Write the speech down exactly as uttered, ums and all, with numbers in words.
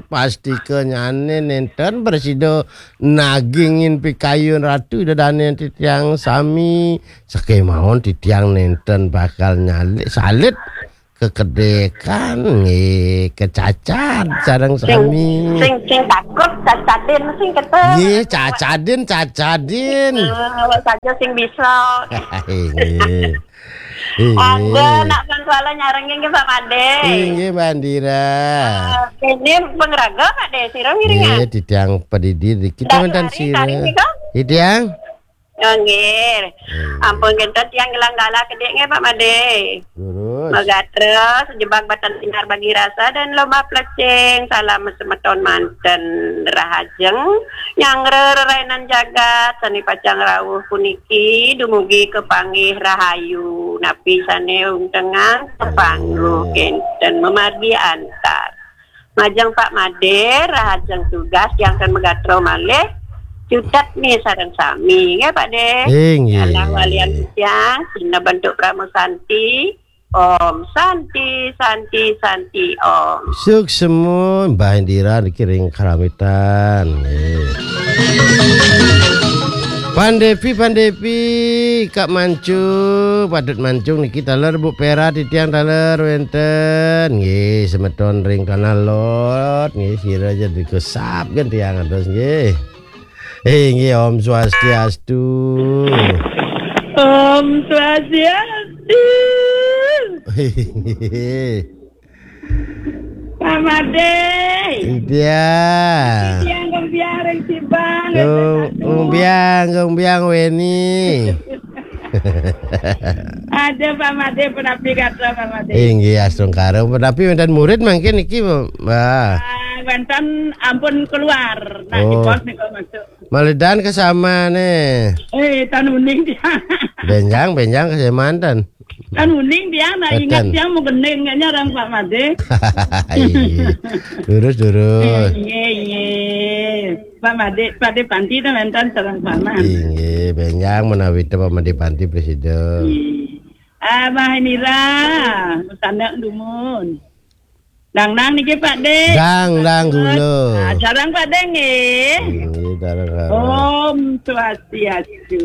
Pastika nyane nenten prasida nagingin pikayun Ratu Ida Dane titiang sami. Sakemawon titiang nenten bakal nyalip salit kekedekan nggih, kecacad sareng sami. Sing sing takut cacadin sing kete. Nggih, cacadin, cacadin. Eh, awak saja sing bisa. Nggih. Ada nak pun kuala nyarengin ke Pak Made. Inggih, Mbak Andira. Eh, ini pengraga Pak De, sira ngiringan. Nggih, titiang pedidi niki. Dah wonten hari sira. Tadi nika? Titiang? Oh, nggih. Nggih. Ampun, kinten tiang gelang gala kedik nggih, Pak Made. Lurus. Magatra, sejebak batan sinar bagi rasa dan lomba plecing. Salam semeton manten rahajeng. Nyanggra rerainan jagat, sane pacang rawuh puniki, dumugi kepanggih rahayu. Napi sane untengan, kepangguh kinten memargi antar. Majeng Pak Made, rahajeng tugas yang kan megatro malih. Cutet nih sareng sami, nggih Pak De. Inggih. Alah walian siang, sina bentuk Pramu Santi. Om Santi, Santi, Santi, Om. Suksema, Mbah Indira niki ring Karamitan. Nggih. Pandepi, Pandepi, Kak Mancu, Padut Mancung niki taler Bu Pera titiang taler wenten. Nggih, semeton ring Tanah Lot, nggih, sira aja dikesap kan tiang atus nggih. Eh, nggih, Om Swastiastu. Om Swastiastu. Pak Made. Iya. Tiang kembiar ring Sibang. Kembiang, kembiang Weni. Ada Pak Made, penapi kata Pak Made. Inggih, astungkara. Penapi wonten murid mangkin niki, Mbah. Ah, wonten ampun keluar. Nah, oh. Di pos niku masuk. Malidan kesamane. Eh, tan uning dia. Benjang, benjang kesemanten. Tan uning dia, nak ingat dia mau kening kayaknya orang Pak Made. Iya. Lurus, lurus. Iya, iya. Pak Made, Pak De Panti itu mentan sareng sama. Inggih, benjang menawi te Pak Made Panti presiden. Iya. Ah, Mbah Nira, sanak dumun. Dang-dang niki Pak De. Dang-dang gula. Ah, sareng Pak De nggih. Inggih, sareng. Om Swastiastu.